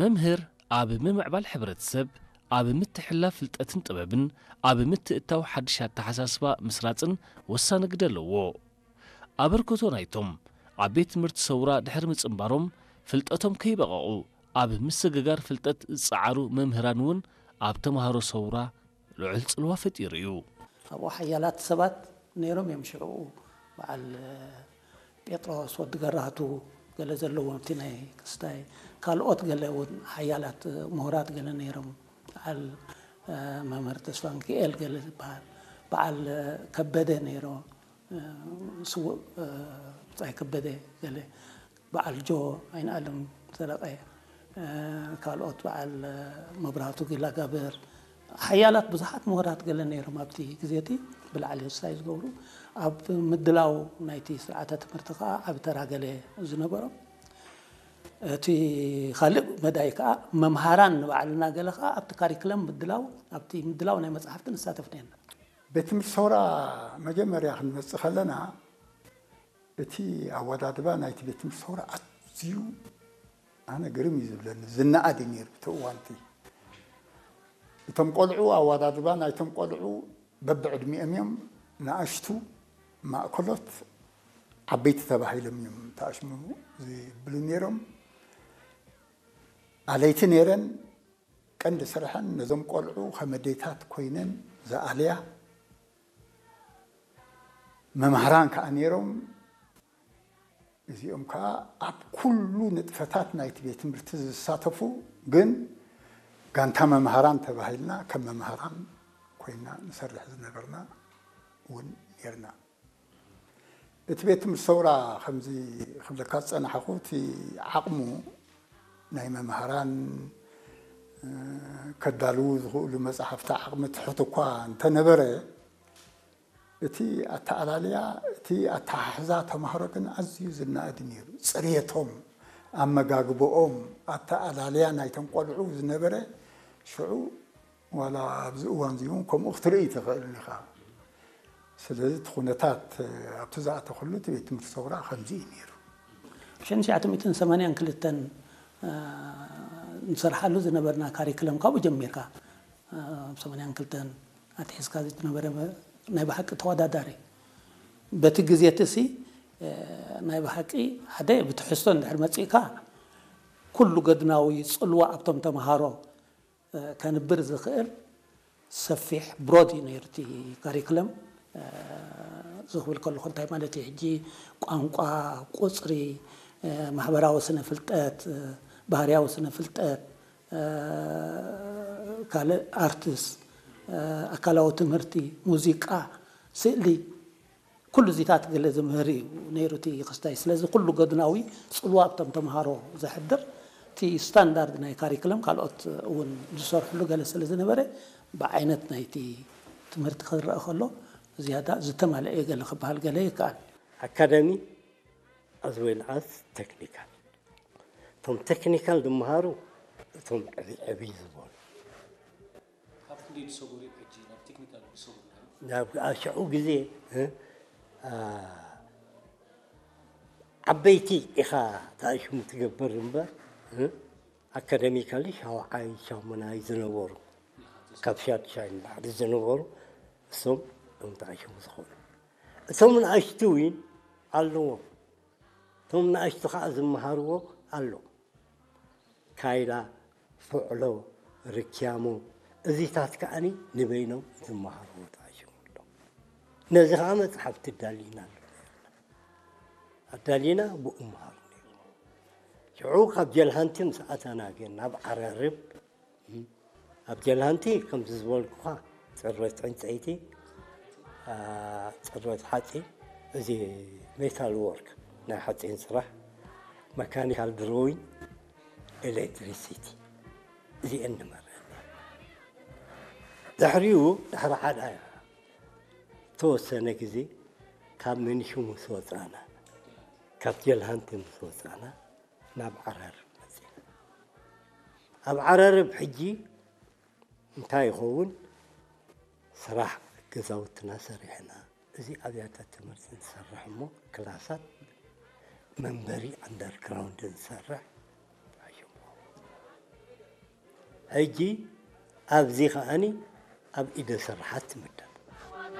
መምህር ኣብ ምምዕባል ሕብረተሰብ፣ ኣብ ምትሕልላፍ ፍልጠትን ጥበብን፣ ኣብ ምትእትታው ሓድሽ ኣተሓሳስባ ምስራጽን ወሳኒ ግደ ኣለዎ። ኣበርክቶ ናይቶም ኣብ ቤት ትምህርቲ ሰውራ ድሕሪ ምጽንባሮም ፍልጠቶም ከይበቐቑ ኣብ ምስግጋር ፍልጠት ዝጸዓሩ መምህራን እውን ኣብ ተምሃሮ ሰውራ ልዑል ጽልዋ ፈጢሩ እዩ። ኣብኡ ሓያላት ሰባት ነይሮም እዮም። ሽዑ በዓል ጴጥሮስ ወዲ ገራህቱ ገለ ዘለዎም፣ እቲ ናይ ክስታይ ካልኦት ገለ እውን ሓያላት ምሁራት ገለ ነይሮም። በዓል መምህር ተስፋ ሚካኤል ገለ ዝበሃል፣ በዓል ከበደ ነይሮ፣ ስዉእ ብጻይ ከበደ ገለ፣ በዓል ጆ ኣይንኣለም ሰረቐ፣ ካልኦት በዓል መብራህቱ ጊላጋብር፣ ሓያላት ብዙሓት ምሁራት ገለ ነይሮም ኣብቲ ግዜ እቲ ብላዕሊ ክስታይ ዝገብሩ። ኣብ ምድላው ናይቲ ስርዓተ ትምህርቲ ከኣ ዓቢ ተራ ገለ ዝነበሮም። እቲ ካልእ መዳይ ከኣ መምሃራን ንባዕልና ገለ ከኣ ኣብቲ ካሪክለም ምድላው፣ ኣብቲ ምድላው ናይ መጻሕፍቲ ንሳተፍ ነርና። ቤት ትምህርቲ ሰውራ መጀመርያ ክንመጽእ ከለና እቲ ኣወዳድባ ናይቲ ቤት ትምህርቲ ሰውራ ኣዝዩ ኣነ ግርም እዩ ዝብለኒ፣ ዝነኣድ እዩ ነይሩ እቲ እዋንቲ። እቶም ቆልዑ፣ ኣወዳድባ ናይቶም ቆልዑ በብዕድሚኦም እዮም፣ ንኣሽቱ፣ ማእከሎት፣ ዓበይቲ ተባሂሎም እዮም ተኣሽሙ ዝብሉ ነይሮም። ኣለይቲ ነይረን። ቀንዲ ስርሐን ነዞም ቆልዑ ከም ኣዴታት ኮይነን ዝኣልያ መማህራን ከኣ ነይሮም። እዚኦም ከኣ ኣብ ኩሉ ንጥፈታት ናይቲ ቤት ትምህርቲ ዝሳተፉ፣ ግን ጋንታ መማህራን ተባሂልና ከም መማህራን ኮይና ንሰርሕ ዝነበርና እውን ነይርና። እቲ ቤት ትምህርቲ ሰውራ ከምዚ ክብለካ ዝጸናሕኹ፣ እቲ ዓቕሙ ናይ መምሃራን፣ እ፣ ከዳልዉ ዝኽእሉ መጻሕፍቲ ዓቕሚ ትሑት እኳ እንተነበረ፣ እቲ ኣተኣላልያ፣ እቲ ኣተሓሕዛ ተምሃሮ ግን ኣዝዩ ዝነኣድ ነይሩ። ጽሬቶም፣ ኣመጋግባኦም፣ ኣተኣላልያ ናይቶም ቆልዑ ዝነበረ ሽዑ ዋላ ኣብዚ እዋን እዚ እውን ከምኡ ክትርኢ ትኽእል ኢኻ። ስለዚ እቲ ኩነታት ኣብቲ ዝኣተኹሉ እቲ ቤት ትምህርቲ ሰውራ ከምዚ እዩ ነይሩ። ሽሕን ትሽዓተ ሚእትን ሰማንያን ክልተን፣ እ፣ ንሰርሓሉ ዝነበርና ካሪክለም ካብኡ ጀሚርካ፣ እ፣ ኣብ ሰማንያን ክልተን ኣትሒዝካ ዝነበረ ናይ ብሓቂ ተወዳዳሪ። በቲ ግዜ እቲ ሲ፣ እ፣ ናይ ብሓቂ ሓደ ብትሕዝቶ እንድሕር መጺእካ ኩሉ ገድናዊ ጽልዋ ኣብቶም ተምሃሮ ከንብር ዝኽእል ሰፊሕ ብሮድ እዩ ነይሩ እቲ ካሪክለም። እዚ ክብል ከለኹ እንታይ ማለት እዩ? ሕጂ ቋንቋ፣ ቁጽሪ፣ ማሕበራዊ ስነ ፍልጠት፣ ባህርያዊ ስነ ፍልጠት፣ ካልእ ኣርትስ፣ ኣካላዊ ትምህርቲ፣ ሙዚቃ፣ ስእሊ፣ ኩሉ እዚታት ገለ ዝምህር እዩ ነይሩ እቲ ክስታይ። ስለዚ ኩሉ ገድናዊ ጽልዋ ኣብቶም ተምሃሮ ዘሕድር፣ እቲ ስታንዳርድ ናይ ካሪክለም ካልኦት እውን ዝሰርሕሉ ገለ ስለ ዝነበረ፣ ብዓይነት ናይቲ ትምህርቲ ክረአ ከሎ ዝያዳ ዝተማልአ ገለ ክበሃል ገለ ይከኣል። ኣካዳሚ ኣዝ ዌል ኣዝ ቴክኒካል። እቶም ቴክኒካል ዝመሃሩ እቶም ዕብይ ዕብይ ዝበሉ። ካብ ክንደይ ዝሰጉሩ እዮም ሕጂ ናብ ቴክኒካል ዝሰጉሩ? ናብ ሽዑ ግዜ፣ እ፣ ኣ፣ ዓበይቲ ኢኻ ተኣሽሙ ትገብር እምበር፣ እ፣ ኣካደሚካሊ ሻውዓይ ሻሙናይ ዝነበሩ፣ ካብ ሻድሻይ ንላዕሊ ዝነበሩ፣ እሶም እዮም ተኣሽሙ ዝኾኑ። እቶም ንኣሽቱ እውን ኣለዎም። እቶም ንኣሽቱ ኸዓ ዝመሃርዎ ኣሎ። ካይላ፣ ፍዕሎ፣ ርክያሞ፣ እዚታት ከዓኒ ንበይኖም ዝመሃርዎ ተኣሽሙ ኣሎ። ነዚ ኸዓ መጽሓፍቲ ኣዳሊና ኣሎ። ኣዳሊና ብኡ መሃሩ ነይሩ። ሽዑ ካብ ጀልሃንቲ ምስ ኣተና ግን ናብ ዓረርብ፣ ኣብ ጀልሃንቲ ከምዚ ዝበልኩኻ ጽርበት ዕንጸይቲ፣ ኣ፣ ጽርበት ሓጺን፣ እዚ ሜታል ወርክ፣ ናይ ሓጺን ስራሕ፣ መካኒካል ድሮዊንግ፣ ኤሌክትሪሲቲ፣ እዚአን ንመርሕ። ድሕሪኡ፣ ድሕሪ ሓደ ተወሰነ ግዜ ካብ መንሹ ምስ ወጻና፣ ካብ ጀልሃንቲ ምስ ወጻና፣ ናብ ዓረርብ መጺና። ኣብ ዓረርብ ሕጂ እንታይ ይኸውን? ስራሕ ገዛውትና ሰሪሕና፣ እዚ ኣብያተ ትምህርቲ ንሰርሕ እሞ ክላሳት መንበሪ ኣንደርግራውንድ ንሰርሕ። ተኣሽሙ። ሕጂ ኣብዚ ከዓኒ ኣብ ኢደ ስርሓት ትምደብ።